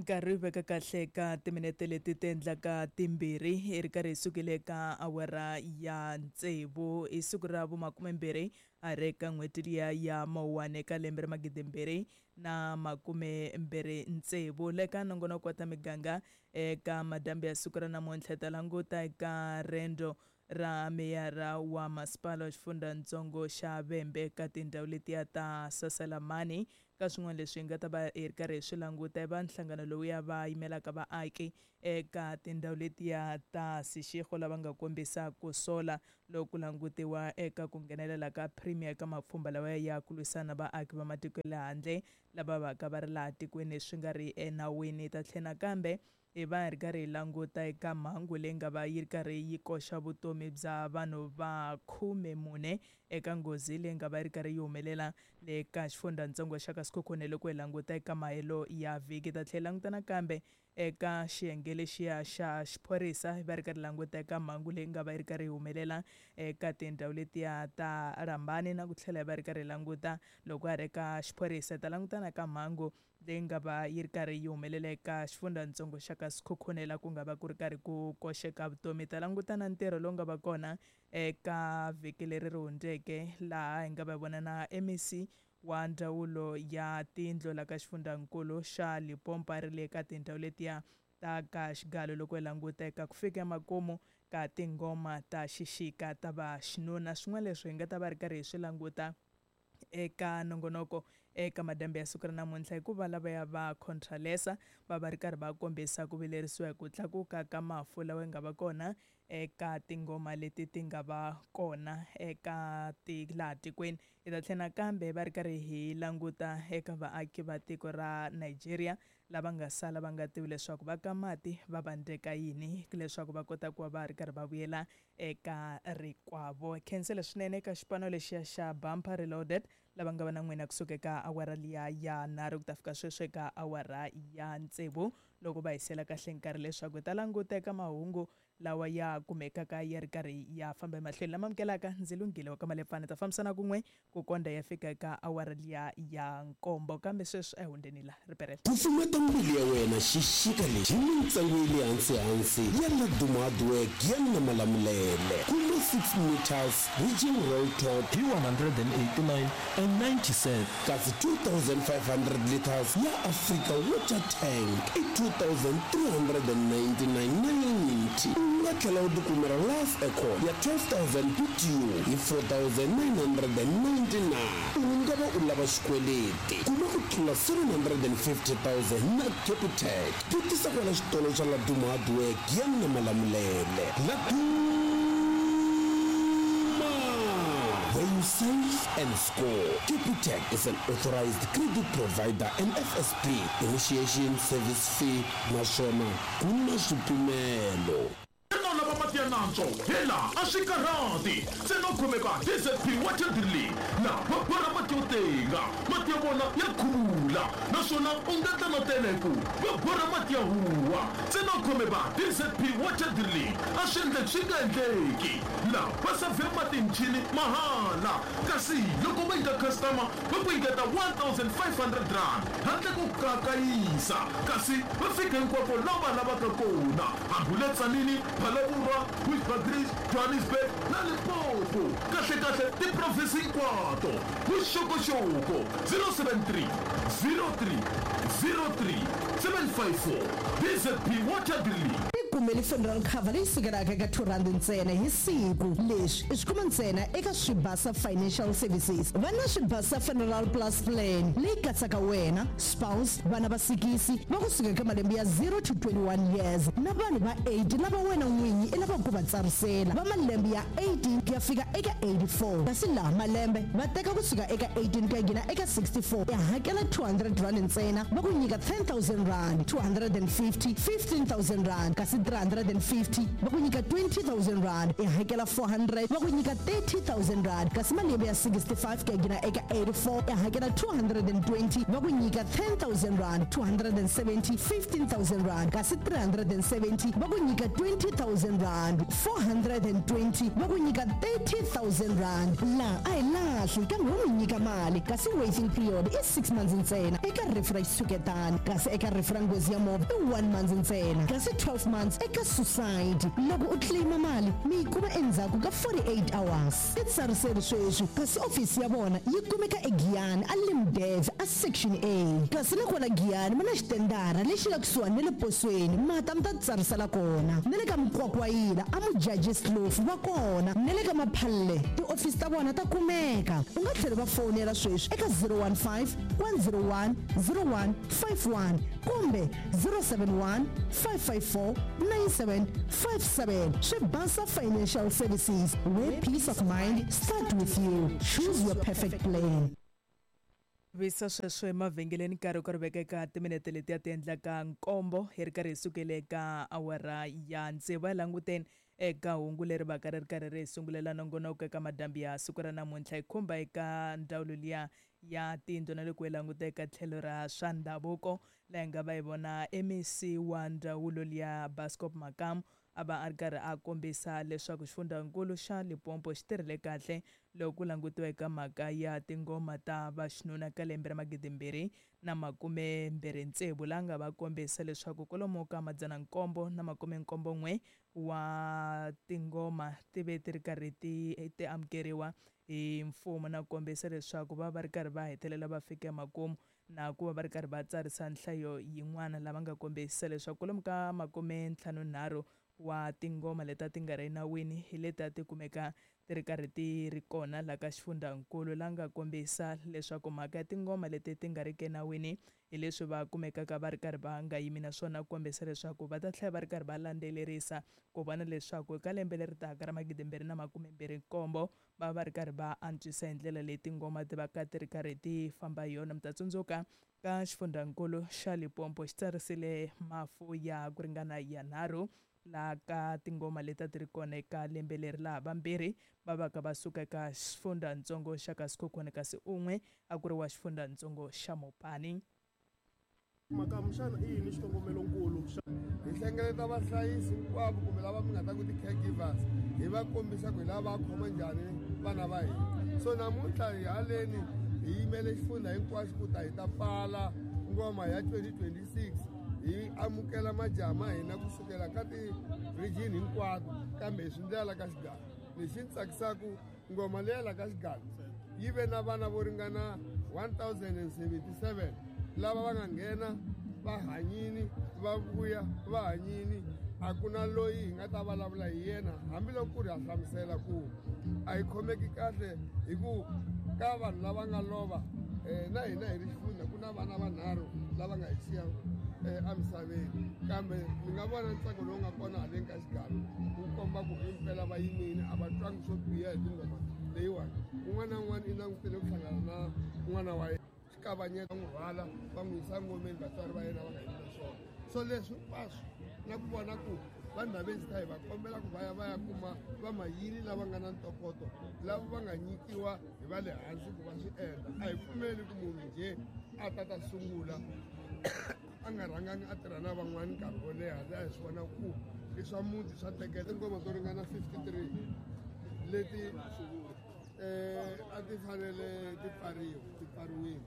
Nkarhi wu veka kahle ka timinete leti ti endlaka 2 hi ri karhi hi sukile ka awara ya tsevu hi siku ra vumakumembirhi a ri eka n'hweti liya ya Mawuwani eka lembe ra 2026. Le ka nongonoko wa ta miganga eka madyambu ya siku ra namuntlha hi ta languta eka rendzo ra meyara wa masipala wa xifundzhantsongo xa Vhembe eka tindhawu letiya ta Saselamani. Ka swin'wana leswi hi nga ta va hi ri karhi hi swi languta i va nhlangano lowuya va yimelaka vaaki eka tindhawu letiya ta Seshego lava nga kombisa ku sola loko ku langutiwa eka ku nghenelela ka Premier eka mapfhumba lawa ya ku lwisana vaaki va matiko ya le handle lava va ka va ri laha tikweni swi nga ri enawini. Hi ta tlhela nakambe hi va hi ri karhi hi languta eka mhangu leyi nga va yi ri karhi yi koxa vutomi bya vanhu va 14 eka nghozi leyi nga va yi ri karhi yi humelela le ka xifundzhantsongo xa ka Sekhukhune loko hi languta eka mahelo ya vhiki. Hi ta tlhela hi languta nakambe eka xiyenge lexiya xa xiphorisa hi va ri karhi languta eka mhangu leyi nga va yi ri karhi yi humelela eka tindhawu letiya ta Rambani na ku tlhela hi va ri karhi languta loko ha ri eka xiphorisa hi ta languta na ka mhangu leyi nga va yi ri karhi yi humelela eka xifundzhantsongo xa ka Sekhukhune la ku nga va ku ri karhi ku koxeka vutomi. Hi ta languta na ntirho lowu nga va kona eka vhiki leri ri hundzeke laha hi nga va vona na MEC wa ndzawulo ya tindlu la ka xifundzhankulu xa Limpopo a ri le ka tindhawu letiya ta ka Xigalo loko hi languta eka ku fika emakumu ka tinghoma ta xixika ta va xinuna. Swin'wana leswi hi nga ta va ri karhi hi swi languta eka nongonoko eka madyambu ya siku ra namuntlha hikuva lavaya va Contralesa va va ri karhi va kombisa ku vilerisiwa hi ku tlakuka ka mafu lawa nga va kona eka tinghoma leti ti nga va kona eka laha tikweni. Hi ta tlhela nakambe va ri karhi hi languta eka vaaki va tiko ra Nigeria lava nga sala va nga tivi leswaku va ka mati va vandzeka yini leswaku va kota ku va va ri karhi va vuyela eka rikwavo. Khensile swinene eka xipano lexiya xa Bumper Reloaded lava nga va na n'wina kusuka eka awara liya ya 3 ku ta fika sweswi eka awara ya 6 loko va hisela kahle nkarhi leswaku hi ta languta eka mahungu lawa ya kumekaka ya ri karhi ya famba emahlweni lama amukelaka. Ndzi lunghile wa ka Malepfana ta fambisana kun'we ku konda ya fika eka awara liya ya 7 kambe sweswi a hi hundzeni la riperela. Kufumeta mbilu ya wena xixika lexi hi mintsengo ya le hansi-hansi ya Laduma Hardware Giyani na Malamulele. Kuma 6 meters Ridging Roll Top hi 189 and 90 cents. Kasi 2500 liters ya Africa Water Tank i 2399.90. U nga tlhela u tikumela Life Aircon ya 12000 BTU hi 4999. U nga va u lava xikweleti kuma ku tlula 750,000 na Capitec. Vutisa kwala xitolo xa Laduma Hardware Giyani na Malamulele. Laduma, where you save and score. Capitec is an authorized credit provider and FSP initiation service fee naswona ku na swipimelo. Xana u lava mati ya nantswo? Hela, a swi karhati! Ntsena u khome va DZP Water Drilling laha va borha mati yo tenga. Mati ya vona ya khuvula naswona u nga endla na tele ku va borha mati ya huwa. Ntsena u khome va DZP Water Drilling, a swi endleki swi nga endleki. Laha va savhe mati hi michini mahala, kasi loko va nyika customer va ku nyiketa R1500 handle ko kayakayisa, kasi va fika hinkwako laha va lavaka kona, hambi u le Tzaneen, Phalaborwa, Bushbuckridge, Johannesburg na Limpopo, kahle-kahle tiprovinsi hinkwato. Vuxokoxoko 073 03 03 754 DZP Water Drilling. Tikumeli funeral cover leyi sukelaka eka R2 ntsena hi siku. Leswi i swi kuma ntsena eka Swibasa Financial Services. Va na Swibasa Funeral Plus Plan leyi katsaka wena, spouse, vana va sikisi va kusuka eka malembe ya 0 to 21 years na vanhu va 80 lava wena n'winyi i lavaka ku va tsarisela va malembe ya 18 ku ya fika eka 84. Kasi laha malembe va teka kusuka eka 18 ku ya nghena eka 64, i hakela R200 ntsena va ku nyika R10,000, 250, R15,000, kasi 350 va ku nyika R20,000, i hakela 400 va ku nyika R30,000, kasi malembe ya 65 ku ya nghena eka 84 i hakela 220 va ku nyika R10,000, 270, R15,000, kasi 370 va ku nyika R20,000, 420 va ku nyika R30,000. Laha a hi laha lahli kambe vo mi nyika mali, kasi waiting period i 6 months ntsena eka rifu ra xitshuketani, kasi eka rifu ra nghozi ya movha i 1 month ntsena, kasi 12 months eka suicide. Loko u claima mali mi yi kuma endzhaku ka 48 hours. Ti tsariseli sweswi, kasi ofisi ya vona yi kumeka eGiyani a Limdev a Section A, kasi na kwala Giyani va na xitendara lexi nga kusuhani na le posweni, mata mi ta tsarisela kona. Na le ka Mukwakwayila a Mujajis Kloof va kona, na le ka Maphalle tiofisi ta vona ta kumeka. U nga tlhela va fonela sweswi eka 015 101 0151 kumbe 071 554 9757. Swibasa Financial Services, where peace of mind start with you. Choose your perfect plan. Visa sweswo emavhengeleni, nkarhi ku ri veka eka timinete letiya ti endlaka 7 hi ri karhi hi sukele eka awara ya 6. Hi languteni eka hungu leri vaka ri ri karhi ri hi sungulela nongonoko eka madambi ya siku ra namuntlha, hi khumba eka ndzawulo liya ya tindlu na loko hi languta eka tlhelo ra swa ndhavuko, laha hi nga va hi vona MEC wa ndzawulo liya Bascop Makamu a va a ri karhi a kombisa leswaku xifundzankulu xa Limpopo xi tirhile kahle loko ku langutiwa eka mhaka ya tingoma ta vaxinuna ka lembe ra 2026, laha nga va kombisa leswaku kwalomu ka 771 wa tingoma ti ve ti ri karhi ti amukeriwa hi mfumo, na ku kombisa leswaku va va ri karhi va hetelela va fika emakumu na ku va va ri karhi va tsarisa nhlayo yin'wana, lava nga kombisa leswaku kwalomu ka 53 wa tingoma leti a ti nga ri enawini hi leti a ti kumeka ti ri karhi ti ri kona laha ka xifundzankulu, laha nga kombisa leswaku mhaka ya tingoma leti ti nga ri ki enawini hi leswi va kumekaka va ri karhi va nga yimi naswona, ku kombisa leswaku va ta tlhela va ri karhi va landzelerisa ku vona leswaku eka lembe leri taka ra 2027 va va ri karhi va antswisa hi ndlela leyi tingoma ti va ka ti ri karhi ti famba hi yona. Mi ta tsundzuka ka xifundzankulu xa Limpopo xi tsarisile mafu ya ku ringana ya 3 laha ka tingoma leti a ti ri kona eka lembe leri, laha vambirhi va vaka va suka eka xifundzatsongo xa ka Sekhukhune, kasi un'we a ku ri wa xifundzatsongo xa Mopani. Makamu, xana i yini xikongomelonkulu xa hi hlengeleta vahlayisi hinkwavo kumbe lava mi nga ta ku ti-caregivers, hi va kombisa ku hi lava va khoma njhani vana va hina. So namuntlha hi haleni hi yimele xifundza hinkwaxo ku ta hi ta pfala ngoma ya 2026, hi amukela majaha ma hina kusukela ka ti-region hinkwato, kambe hi swi ndlela ka xigalo. Lexi ni tsakisaka, ngoma leya la ka xigalo yi ve na vana vo ringana 1077 lava va nga nghena va hanyini, va vuya va hanyini. A ku na loyi hi nga ta vulavula hi yena, hambiloko ku ri ha hlamusela ku a hi khomeki kahle hi ku ka vanhu lava nga lova. Na hina hi ri xifundza ku na vana vanharhu lava nga hi siya emisaveni, kambe mi nga vona ntsako lowu nga kona haleni ka xigalo wu komba ku himpela va yimile, a va twangi swo biha hi tingoma leyiwani. Un'wana na un'wana i langutele ku hlangana na n'wana wa yena, xikavanyeta n'wi rhwala va n'wi yisa ngomeni, vatswari va yena va nga yimi na swona. So leswi hinkwaswo na ku vona ku vanhu lavenzita hi va kombela ku va ya va ya kuma vamayini lava nga na ntokoto, lava va nga nyikiwa hi va le hansi ku va swi endla. A hi pfumeli ku munhu njhe a ta ta sungula a nga rhangangi a tirha na van'wani nkarhi wo leha, laha hi swi vona ku i swa muti swa tekela. Tingoma to ringana 53 leti a ti fanele ti pfariwa ti pfariwile.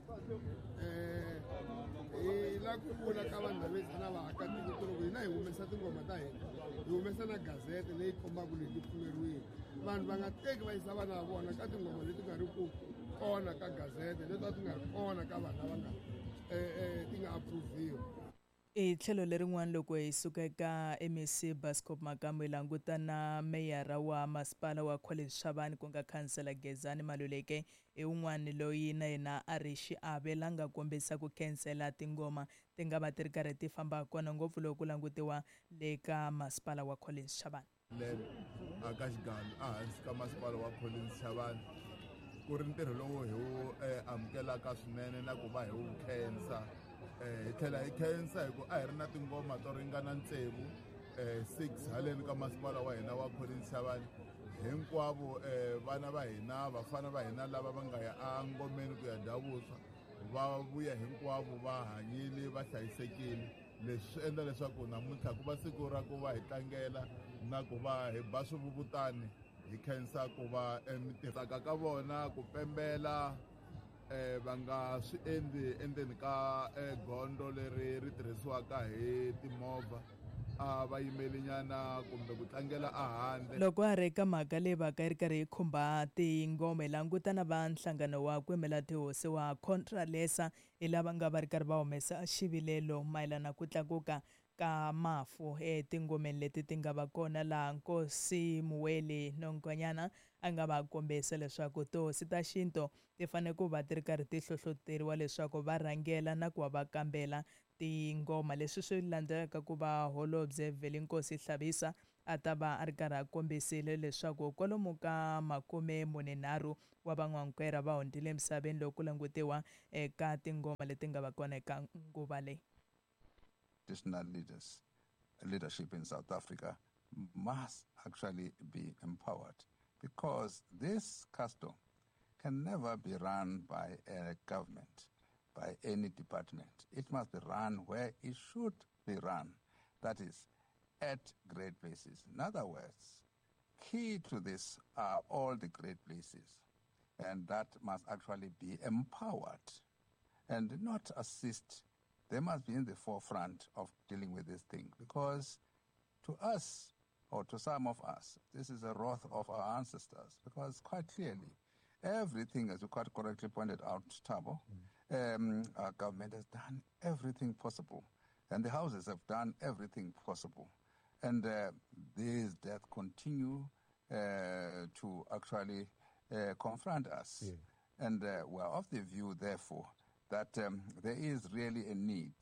Hi la ku vula ka vanhu laveza na vaakatiko ku ri hina hi humesa tingoma ta hina, hi humesa na gazete leyi kombaka leti pfumeriwile. Vanhu va nga teki va yisa vana va vona ka tingoma leti nga ri ku kona ka gazete, leti a ti nga ri kona ka vanhu lava nga ti nga approve-iwa. Hi tlhelo lerin'wana, loko hi suka eka MEC Bascop Makamu, hi languta na meyara wa masipala wa Collins Chabane, ku nga khansela Gezani Maluleke, i un'wana loyi na yena a ri xiave la nga kombisa ku khensela tingoma ti nga va ti ri karhi ti famba kona, ngopfu loko ku langutiwa le ka masipala wa Collins Chabane. Lembe aka xigalo ehansi ka masipala wa Collins Chabane ku ri ntirho lowu hi wu amukelaka swinene na ku va hi wu khensa. Hi tlhela hi khensa hi ku a hi ri na tingoma to ringana tsevu, 6 haleni ka masipala wa hina wa Collins Chabane. Hinkwavo vana va hina, vafana va hina lava va nga ya engomeni ku ya dya vuswa va vuya hinkwavo va hanyile, va hlayisekile. Leswi swi endla leswaku namuntlha ku va siku ra ku va hi tlangela na ku va hi ba swivuvutani. Hi khensa ku va tsaka ka vona ku pembela va nga swi endli endzeni ka gondzo leri ri tirhisiwaka hi timovha, a va yimelinyana kumbe ku tlangela ehandle. Loko a ri eka mhaka leyi va ka yi ri karhi yi khumba tingoma, hi languta na va nhlangano wa ku yimela tihosi wa Contralesa, hi lava nga va ri karhi va humesa xivilelo mayelana ku tlakuka ka mafu etingomeni leti ti nga va kona, laha Nkosi Muweli Nonkonyana a nga va kombisa leswaku tihosi ta xintu ti fanele ku va ti ri karhi ti hlohloteriwa leswaku va rhangela na ku va va kambela tingoma. Leswi swi landzelaka ku va holobye Vhelenkosi Hlabisa a ta va a ri karhi a kombisile leswaku kwalomu ka 43 wa van'wankwera va hundzile emisaveni loko ku langutiwa eka tingoma leti nga va kona eka nguva leyi. Traditional leadership in South Africa must actually be empowered, because this custom can never be run by a government, by any department. It must be run where it should be run, that is, at great places. In other words, key to this are all the great places, and that must actually be empowered and not assist. They must be in the forefront of dealing with this thing, because to us, or to some of us, this is a wrath of our ancestors, because quite clearly, everything, as you quite correctly pointed out, Thabo, our government has done everything possible, and the houses have done everything possible. And these deaths continue to actually confront us. Yeah. And we're of the view, therefore, that there is really a need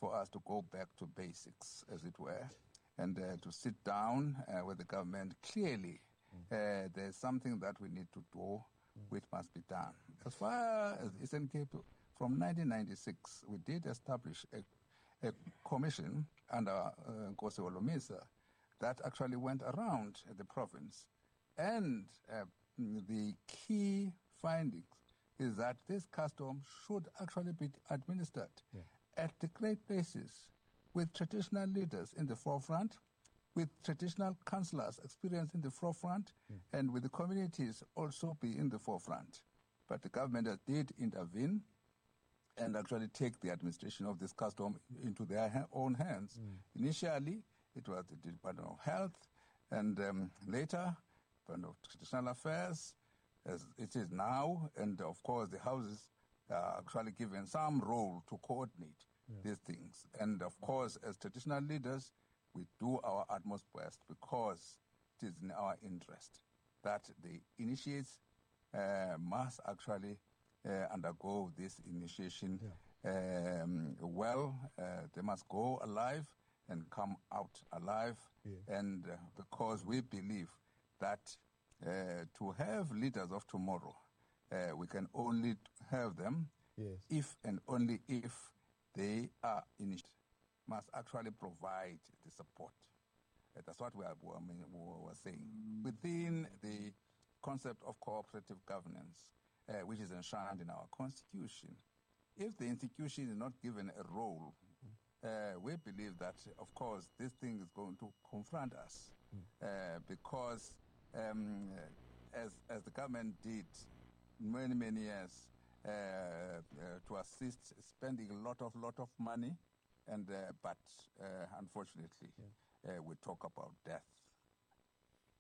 for us to go back to basics, as it were, and to sit down with the government. Clearly, there's something that we need to do, which must be done. As far as Eastern Cape, from 1996, we did establish a commission under Nkosi Holomisa that actually went around the province. And the key findings is that this custom should actually be administered at the great places, with traditional leaders in the forefront, with traditional councillors experienced in the forefront, and with the communities also be in the forefront. But the government did intervene and actually take the administration of this custom into their own hands. Initially, it was the Department of Health, and later, Department of Traditional Affairs, as it is now, and of course the houses are actually given some role to coordinate these things. And of course, as traditional leaders, we do our utmost best, because it is in our interest that the initiates must actually undergo this initiation well. They must go alive and come out alive. And because we believe that to have leaders of tomorrow, we can only have them if and only if they are initiated, must actually provide the support. That's what we were saying. Within the concept of cooperative governance, which is enshrined in our constitution, if the institution is not given a role, we believe that, of course, this thing is going to confront us, because as the government did many, many years to assist, spending a lot of money, and but unfortunately, we talk about death.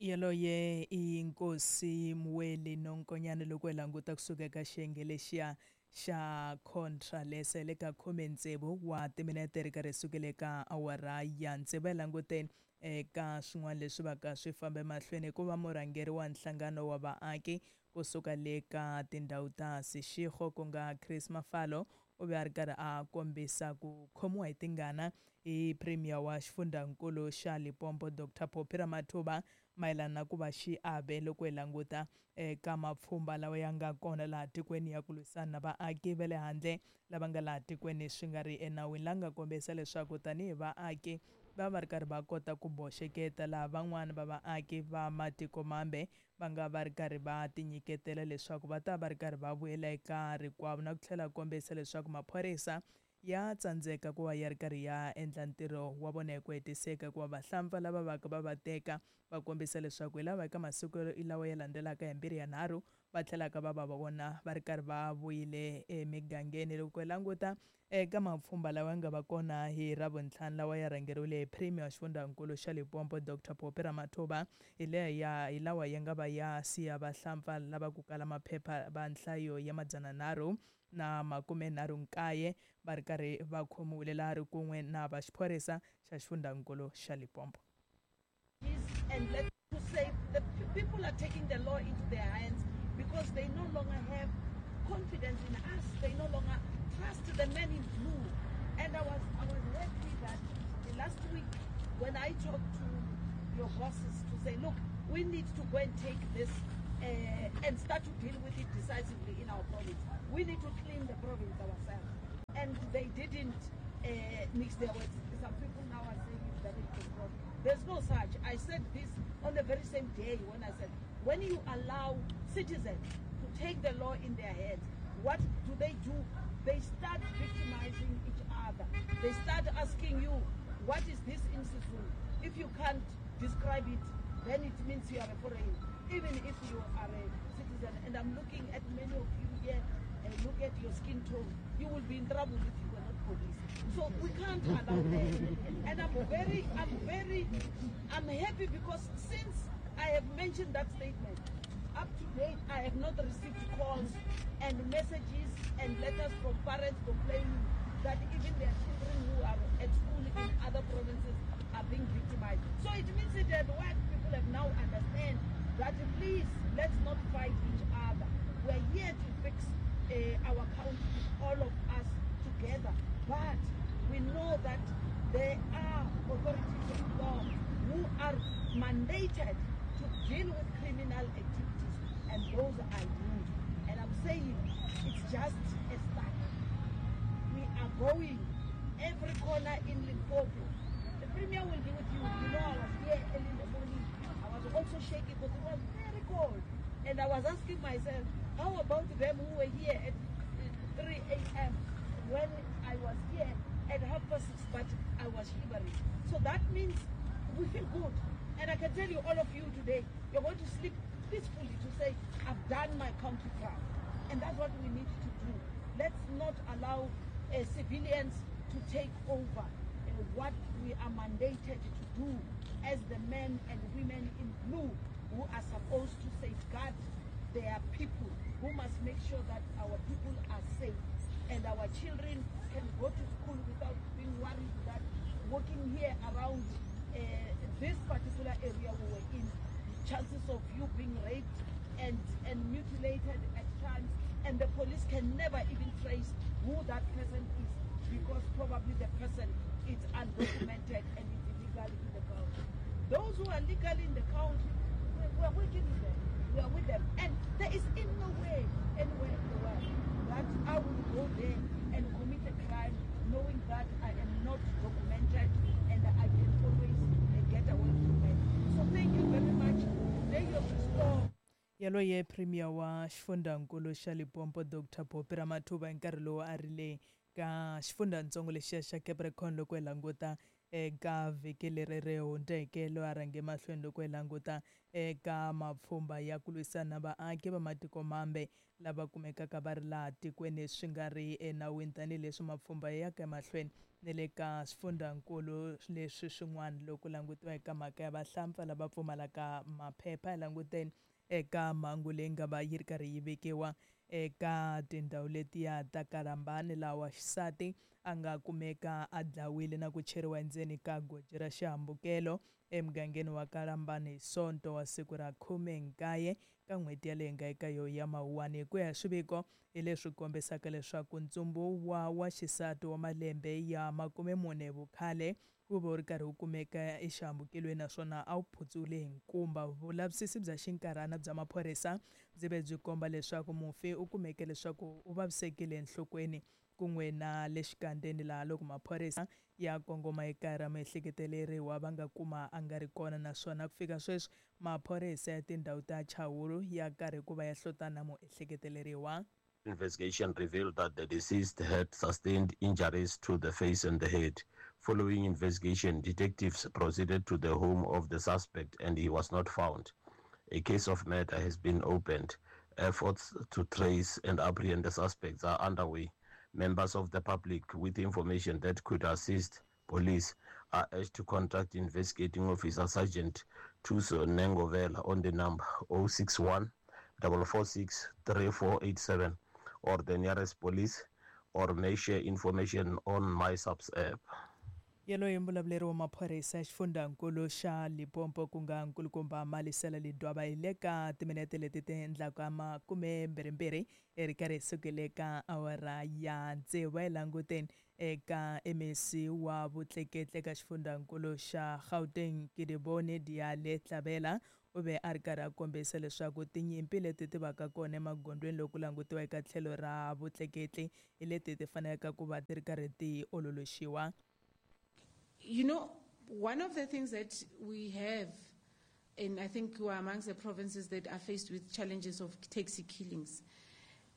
Yaloye inkosi Mweli Nonkonyane loko hi languta kusuka eka xiyenge lexiya xa Contralesa le ka 16 wa timinete ri karhi sukele ka awara ya 6. Hi languteni eka swin'wana leswi va ka swi fambe mahlweni hikuva murhangeri wa nhlangano wa vaaki kusuka le ka tindhawu ta Seshego ku nga Chris Mafalo u ve a ri karhi a kombisa ku khomiwa hi tingana hi Premier wa xifundzankulu xa Limpopo Dr Phophi Ramathuba mayelana na ku va xiave loko hi languta eka mapfhumba lawa ya nga kona laha tikweni ya ku lwisana na vaaki va le handle lava nga laha tikweni swi nga ri enawini, la nga kombisa leswaku tanihi vaaki va va ri karhi va kota ku boxeketa laha van'wani va vaaki va matiko mambe va nga va ri karhi va tinyiketela leswaku va ta va ri karhi va vuyela eka rikwavo, na ku tlhela kombisa leswaku maphorisa ya tsandzeka ku va ya ri karhi ya endla ntirho wa vona hi ku hetiseka, hikuva vahlampfa lava vaka va va teka va kombisa leswaku hi lava eka masiku lawa ya landzelaka hi 2 ya 3 va tlhelaka va va vona va ri karhi va vuyile emigangeni. Loko hi languta eka mapfhumba lawa ya nga va kona hi Ravuntlhanu lawa ya rhangeriwile hi Premier wa xifundzankulu xa Limpopo Dr Phophi Ramathuba, hi leya hi lawa ya nga va ya siya vahlampfa lava ku kala maphepha va nhlayo ya 339 va ri karhi va khomiwile laha ri kun'we na va xiphorisa xa xifundzankulu xa Limpopo. And let to say the people are taking the law into their hands because they no longer have confidence in us. They no longer trust the men in blue. And I was happy that last week when I talked to your bosses to say, look, we need to go and take this and start to deal with it decisively in our province. We need to clean the province ourselves. And they didn't mix their words. Some people now are saying it's damage control. There's no such. I said this on the very same day when I said, when you allow citizens to take the law in their hands, what do they do? They start victimizing each other. They start asking you, what is this in Sisulu? If you can't describe it, then it means you are a foreigner, even if you are a citizen. And I'm looking at many of you here, and look at your skin tone. You will be in trouble if you were not police. So we can't allow that. And I'm happy because since I have mentioned that statement, up to date, I have not received calls and messages and letters from parents complaining that even their children who are at school in other provinces are being victimized. So it means that what people have now understand that please, let's not fight each other. We're here to fix our country, all of us together. But we know that there are authorities of law who are mandated to deal with criminal activities, and those are you. And I'm saying it's just a start. We are going every corner in Limpopo. The Premier will be with you. You know, I was here early in the morning. I was also shaking because it was very cold. And I was asking myself, how about them who were here at 3 a.m. when I was here at 6:30, but I was shivering. So that means we feel good. And I can tell you, all of you today, you're going to sleep peacefully to say, I've done my country proud. And that's what we need to do. Let's not allow civilians to take over what we are mandated to do as the men and women in blue who are supposed to safeguard their people, who must make sure that our people are safe and our children can go to school without being worried that walking here around this particular area we were in, chances of you being raped and mutilated at times, and the police can never even trace who that person is because probably the person is undocumented and is illegal in the country. Those who are legally in the country, we are working with them. We are with them. And there is in no way anywhere in the world that I will go there and commit a crime knowing that I am not documented and I can always get away from it. So thank you very much. Today you have restored. Yaloye Premier wa xifundzankulu xa Limpopo Dr Phophi Ramathuba hi nkarhi lowu a ri le ka xifundzatsongo lexiya xa Capricorn loko hi languta eka vhiki leri ri hundzeke, loyi a rhange mahlweni loko hi languta eka mapfhumba ya ku lwisana na vaaki va matiko mambe lava kumekaka va ri laha tikweni swi nga ri enawini, tanihileswi mapfhumba ya yaka emahlweni ni le ka swifundzankulu leswi swin'wana loko langutiwa eka mhaka ya vahlampfa lava pfumalaka maphepha. Hi languteni eka mhangu leyi nga va yi ri karhi yi vekiwa eka tindhawu letiya ta Kalambani, laha wa xisati a nga kumeka a dlawile na ku cheriwa endzeni ka goji ra xihambukelo emugangeni wa Kalambani hi Sonto wa siku ra 19 ka n'hweti yaleyi nga eka yo ya Mawuwani. Hi ku ya hi swiviko hi leswi kombisaka leswaku ntsumbu wa xisati wa malembe ya 40 vukhale wu va wu ri karhi wu kumeka exihambukelweni naswona a wu phutsule hi nkumba. Vulavisisi bya xinkarhana bya maphorisa byi ve byi komba leswaku mufi u kumeke leswaku u vavisekile enhlokweni kun'we na le xikandzeni, laha loko maphorisa ya kongoma ekaya ra miehleketeleriwa va nga kuma a nga ri kona, naswona ku fika sweswi maphorisa ya tindhawu ta Chawulu ya karhi ku va ya hlotana muehleketeleriwa. Investigation revealed that the deceased had sustained injuries to the face and the head. Following investigation, detectives proceeded to the home of the suspect and he was not found. A case of murder has been opened. Efforts to trace and apprehend the suspects are underway. Members of the public with information that could assist police are urged to contact investigating officer Sergeant Tuso Nengovela on the number 061 446 3487 or the nearest police or may share information on MySAPS app. Yaloye mbulavuleri wa maphorisa ya xifundzankulu xa Limpopo ku nga nkulukumba Malisela Ledwaba hi le ka timinete leti ti endlaka makumembirhimbirhi hi ri karhi hi sukile ka awara ya tsevu hi languteni eka MEC wa vutleketli eka xifundzankulu xa Gauteng Kedibone Diale Tlabela u ve a ri karhi a kombisa leswaku tinyimpi leti ti vaka kona emagondzweni loko ku langutiwa eka tlhelo ra vutleketli hi leti ti faneleke ku va ti ri karhi ti ololoxiwa. You know, one of the things that we have, and I think we are amongst the provinces that are faced with challenges of taxi killings,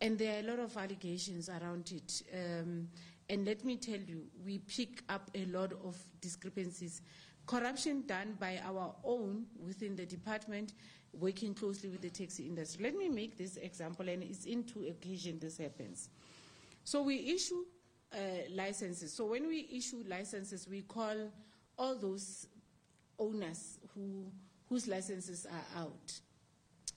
and there are a lot of allegations around it. And let me tell you, we pick up a lot of discrepancies. Corruption done by our own within the department, working closely with the taxi industry. Let me make this example, and it's in two occasions this happens. So we issue licenses. So when we issue licenses, we call all those owners whose licenses are out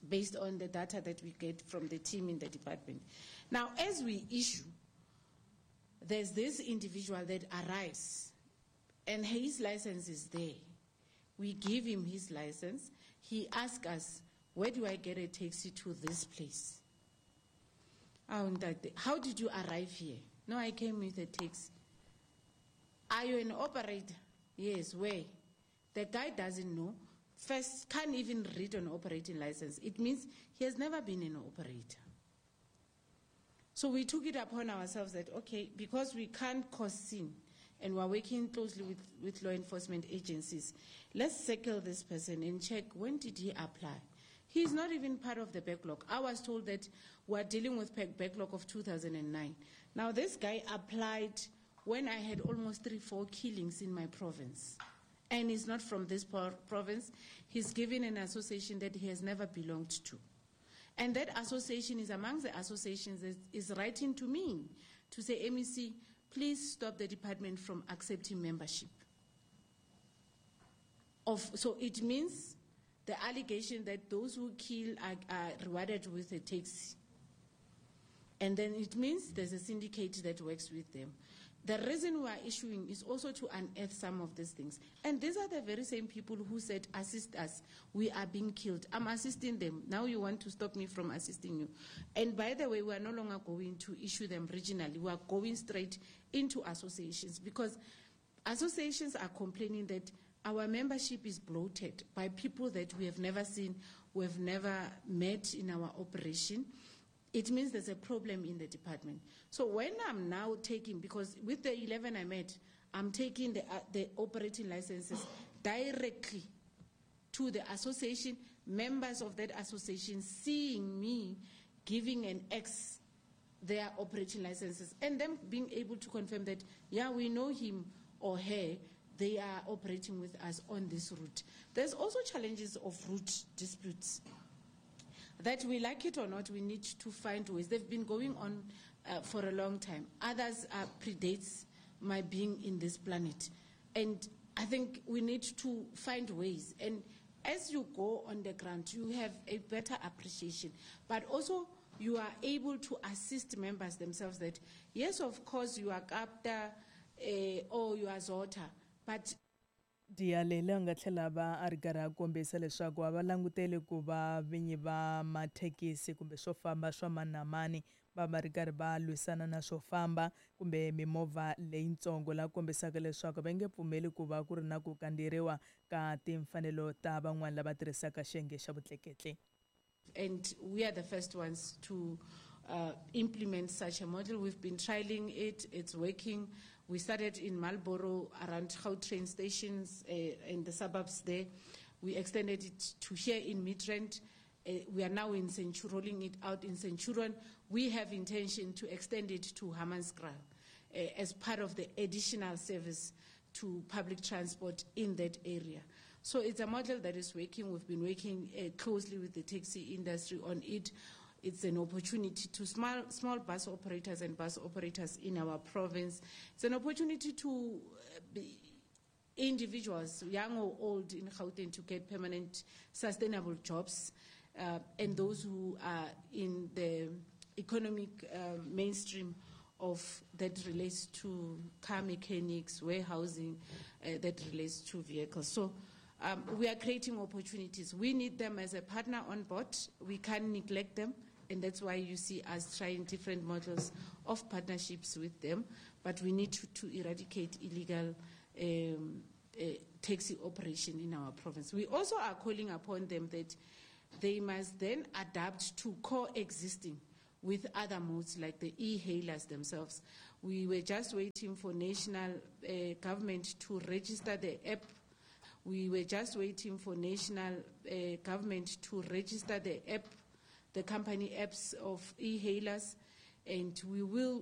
based on the data that we get from the team in the department. Now, as we issue, there's this individual that arrives and his license is there. We give him his license. He asks us, where do I get a taxi to this place? How did you arrive here? No, I came with a taxi. Are you an operator? Yes, where? The guy doesn't know. First, can't even read an operating license. It means he has never been an operator. So we took it upon ourselves that, okay, because we can't cause sin, and we're working closely with law enforcement agencies, let's circle this person and check when did he apply. He's not even part of the backlog. I was told that we're dealing with backlog of 2009. Now, this guy applied when I had almost 3-4 killings in my province. And he's not from this province. He's given an association that he has never belonged to. And that association is among the associations that is writing to me to say, MEC, please stop the department from accepting membership. So it means the allegation that those who kill are rewarded with a taxi. And then it means there's a syndicate that works with them. The reason we are issuing is also to unearth some of these things. And these are the very same people who said, assist us, we are being killed. I'm assisting them. Now you want to stop me from assisting you. And by the way, we are no longer going to issue them regionally. We are going straight into associations because associations are complaining that our membership is bloated by people that we have never seen, we have never met in our operation. It means there's a problem in the department. So when I'm now taking, because with the 11 I met, I'm taking the operating licenses directly to the association, members of that association seeing me giving an X their operating licenses and them being able to confirm that, yeah, we know him or her, they are operating with us on this route. There's also challenges of route disputes. That we like it or not, we need to find ways. They've been going on for a long time. Others predates my being in this planet. And I think we need to find ways. And as you go on the ground, you have a better appreciation. But also, you are able to assist members themselves that, yes, of course, you are CAPTA or you are ZOTA, but Dialela nga tlhela va a ri karhi a kombisa leswaku a va languteli ku va vinyi va mathekisi kumbe swo famba swa mani na mani va va ri karhi va lwisana na swo famba kumbe mimovha leyitsongo la kombisaka leswaku va nge pfumeli ku va ku ri na ku kandzeriwa ka timfanelo ta van'wani lava tirhisaka xiyenge xa vutleketli. And we are the first ones to implement such a model. We've been trialing it. It's working. We started in Marlborough around Gautrain stations in the suburbs there. We extended it to here in Midrand. We are now in rolling it out in Centurion. We have intention to extend it to Hammanskraal as part of the additional service to public transport in that area. So it's a model that is working. We've been working closely with the taxi industry on it. It's an opportunity to small bus operators and bus operators in our province. It's an opportunity to be individuals, young or old, in Gauteng to get permanent, sustainable jobs, and those who are in the economic mainstream of that relates to car mechanics, warehousing, that relates to vehicles. So we are creating opportunities. We need them as a partner on board. We can't neglect them, and that's why you see us trying different models of partnerships with them. But we need to eradicate illegal taxi operation in our province. We also are calling upon them that they must then adapt to coexisting with other modes like the e-hailers themselves. We were just waiting for national government to register the app. We were just waiting for national government to register the app, the company apps of e-hailers, and we will